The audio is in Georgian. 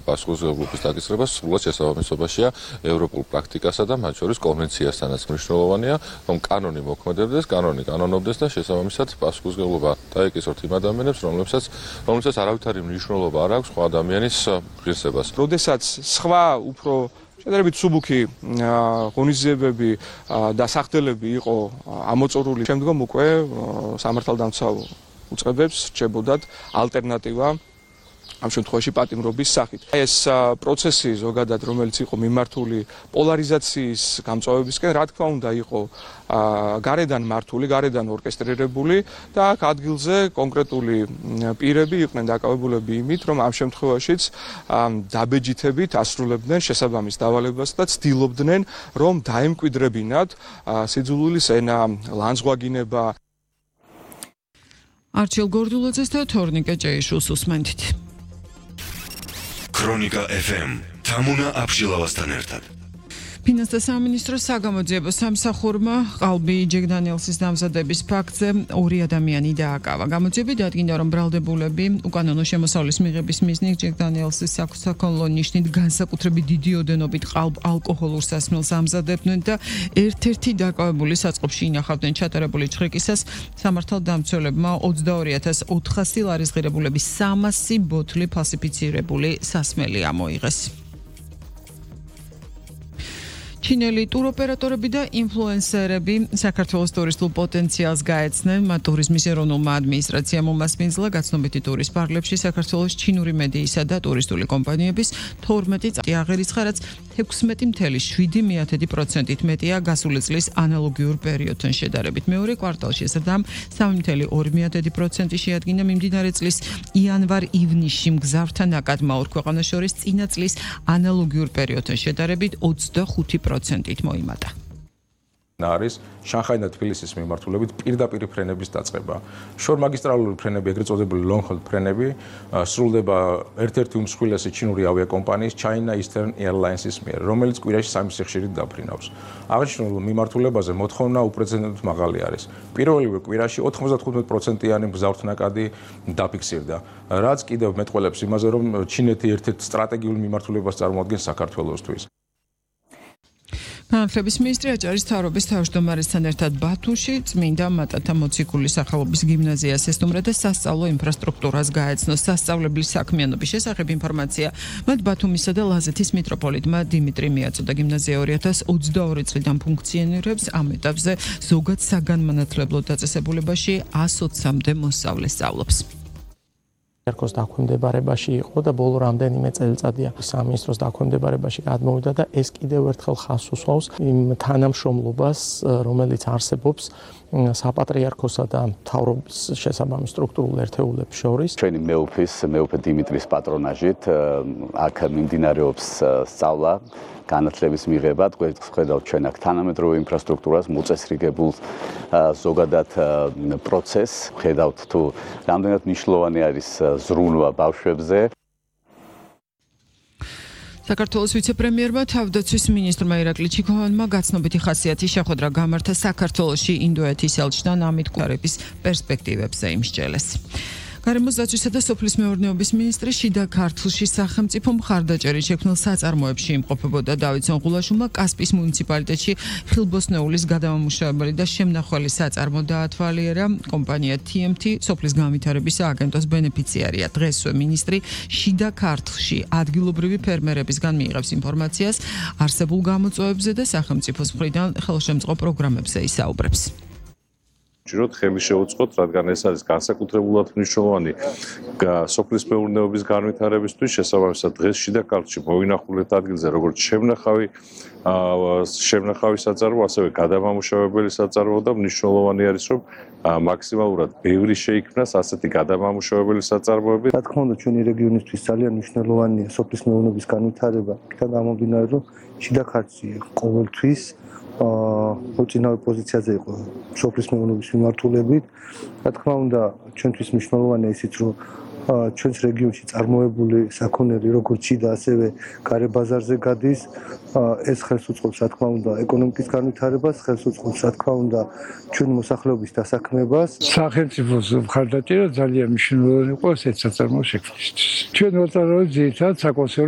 პასუხისმგებლობის დაკისრება სრულად შესაბამისობაშია ევროპულ პრაქტიკასა და მათ შორის კონვენციასთანაც. მნიშვნელოვანია, რომ კანონი მოქმედებდეს, კანონი კანონობდეს და შესაბამისად პასუხისმგებლობა დაეკისროთ იმ ადამიანებს, რომლებსაც არავითარი მნიშვნელობა არ აქვს სხვა ადამიანის ღირსებას. როდესაც სხვა უფრო შედარებით მსუბუქი ღონისძიებები და სახდელები იყო ამოწურული, შემდგომ უკვე სამართალდამცავ უწყებებს რჩებოდათ ალტერნატივა ამ შემთხვევაში პატიმრობის სახით. ეს პროცესი ზოგადად, რომელიც იყო მიმართული პოლარიზაციის გამწვავებისკენ, რა თქმა უნდა, იყო გარედან მართული, გარედან ორკესტრირებული და აქ ადგილზე კონკრეტული პირები იყვნენ დაკავებულები იმით, რომ ამ შემთხვევაშიც დაბეჯითებით ასრულებდნენ შესაბამის დავალებას და ცდილობდნენ, რომ დაემკვიდრებინათ სიძულვილის ენა, ლანძღვაგინება. არჩილ გორდულაძეს და თორნიკე ჭეიშვილს უსმენთ. ქრონიკა FM თამუნა აბშილავასთან ერთად. ფინანსთა სამინისტროს საგამოძიებო სამსახურმა ყალბი ჯეგდანიელსის დამზადების ფაქტზე 2 ადამიანი დააკავა. გამოძიები დადგინდა, რომ ბრალდებულები უკანონო შემოსავლის მიღების მიზნით ჯეგდანიელსის საქონლო ნიშნით განსაკუთრებით დიდი ოდენობით ალკოჰოლურ სასმელს ამზადებდნენ და ერთ-ერთი დაკავებული საწყობში ინახავდნენ ჩატარებული ჩხრიკისას. სამართალდამცველებმა 22,400 ლარის ღირებულების 300 ბოთლი ფალსიფიცირებული სასმელი ამოიღეს. ჩინელი ტუროპერატორები და ინფლუენსერები საქართველოს ტურისტულ პოტენციალს გაეცნენ. მათ ტურიზმის ეროვნულმა ადმინისტრაციამ უმასპინძლა გაცნობიტი ტურის პარკლებში საქართველოს ჩინური მედიისა და ტურისტული კომპანიების 12 წელი აღერიცხა, რაც 16.7%-ით მეტია გასული წლის ანალოგიურ პერიოდთან შედარებით. მეორე კვარტალში ზრდამ 3.2% შეადგინა მიმდინარე წლის იანვარ-ივნისში მგზავრთა ნაკადმა ორ ქვეყანას შორის წინა წლის ანალოგიურ პერიოდთან შედარებით 25%-ით მოიმატა. არის შანხაი და თბილისის მიმართულებით პირდაპირ ფრენების დაწყება. შორმაგისტრალური ფრენები, ეგრეთ წოდებული long-haul ფრენები, სრულდება ერთ-ერთი უმსხვილესი ჩინური ავიაკომპანიის China Eastern Airlines-ის მიერ, რომელიც კვირაში 3 სიხშირით დაფრინავს. აღნიშნულ მიმართულებაზე მოთხოვნა უპრეცედენტოდ მაღალი არის. პირველივე კვირაში 95%-იანი მგზავრთა ნაკადი დაფიქსირდა, რაც კიდევ მეტყველებს იმაზე, რომ ჩინეთი ერთ-ერთ სტრატეგიულ მიმართულებას წარმოადგენს საქართველოსთვის. განათლების მინისტრი აჭარის მთავრობის თავმჯდომარესთან ერთად ბათუმში წმინდა მატათა მოციქულის სახელობის გიმნაზიას ესტუმრა და სასწავლო ინფრასტრუქტურას გაეცნო. სასწავლებლის საქმიანობის შესახებ ინფორმაცია მათ ბათუმისა და ლაზეთის მიტროპოლიტმა დიმიტრი მიაწოდა. გიმნაზია 2022 წლიდან ფუნქციონირებს. ამ ეტაპზე ზოგად საგანმანათლებლო დაწესებულებაში 120-მდე მოსწავლე სწავლობს. ერქოს დაქვემდებარებაში იყო და ბოლო რამდენიმე წელიწადია სამინისტროს დაქვემდებარებაში გადმოვიდა და ეს კიდევ ერთხელ ხაზს უსვავს იმ თანამშრომლობას, რომელიც არსებობს საპატრიარქოსა და მთავრობის შესაბამის სტრუქტურულ ერთეულებს შორის. ჩვენი მეუფე დიმიტრის პატრონაჟით აქ მიმდინარეობს სწავლა, განათლების მიღება, ხედავთ ჩვენ აქ თანამედროვე ინფრასტრუქტურას, მოწესრიგებულ ზოგადად პროცესს, ხედავთ თუ რამდენად მნიშვნელოვანი არის ზრუნვა ბავშვებზე. საქართველოს ვიცე-პრემიერმა თავდაცვის მინისტრმა ირაკლი ჩიქოვანმა გაცნობიტი ხასიათის შეხვედრა გამართა საქართველოში ინდოეთის ელჩთან ამით კუარების პერსპექტივებზე იმსჯელეს. გარემოს დაცვისა და სოფლის მეურნეობის მინისტრი შიდა ქართლში სახელმწიფო მხარდაჭერით შექმნილ საწარმოებში იმყოფებოდა. დავით სონღულაშვილმა კასპის მუნიციპალიტეტში ხილბოსნეულის გადამამუშავებელი და შემნახველი საწარმო დაათვალიერა. კომპანია TMT სოფლის განვითარების სააგენტოს ბენეფიციარია. დღესვე მინისტრი შიდა ქართლში ადგილობრივი ფერმერებისგან მიიღებს ინფორმაციას არსებულ გამოწვევებზე და სახელმწიფოს მხრიდან ხელშემწყო პროგრამებზე ისაუბრებს. ჯეროთ ხელი შეუწყოთ, რადგან ეს არის განსაკუთრებულად მნიშვნელოვანი სოფლის მეურნეობის განვითარებისთვის. შესაბამისად დღეს შიდა ქართლში მოვინახულეთ ადგილზე როგორც შემნახავი საწარმო, ასევე გადამამუშავებელი საწარმო და მნიშვნელოვანი არის, რომ მაქსიმალურად ბევრი შეიქმნას ასეთი გადამამუშავებელი საწარმოები. რა თქმა უნდა, ჩვენი რეგიონისთვის ძალიან მნიშვნელოვანია სოფლის მეურნეობის განვითარება. იქიდან გამომდინარე, რომ შიდა ქართლში ყოველთვის მოწინავე პოზიციაზე იყო სოფლის მეურნეობის მიმართულებით. რა თქმა უნდა, ჩვენთვის მნიშვნელოვანია ისიც, რომ ჩვენს რეგიონში წარმოებული საქონელი როგორც შიდა, ასევე გარე ბაზარზე გადის. ეს ხელს უწყობს, რა თქმა უნდა, ეკონომიკის განვითარებას, ხელს უწყობს, რა თქმა უნდა, ჩვენი მოსახლეობის დასაქმებას. სახელმწიფოს მხარდაჭერა ძალიან მნიშვნელოვანი იყო ესეთ საწარმოო შექმნისთვის. ჩვენ ვაწარმოებთ ძირითადად საკონსერვო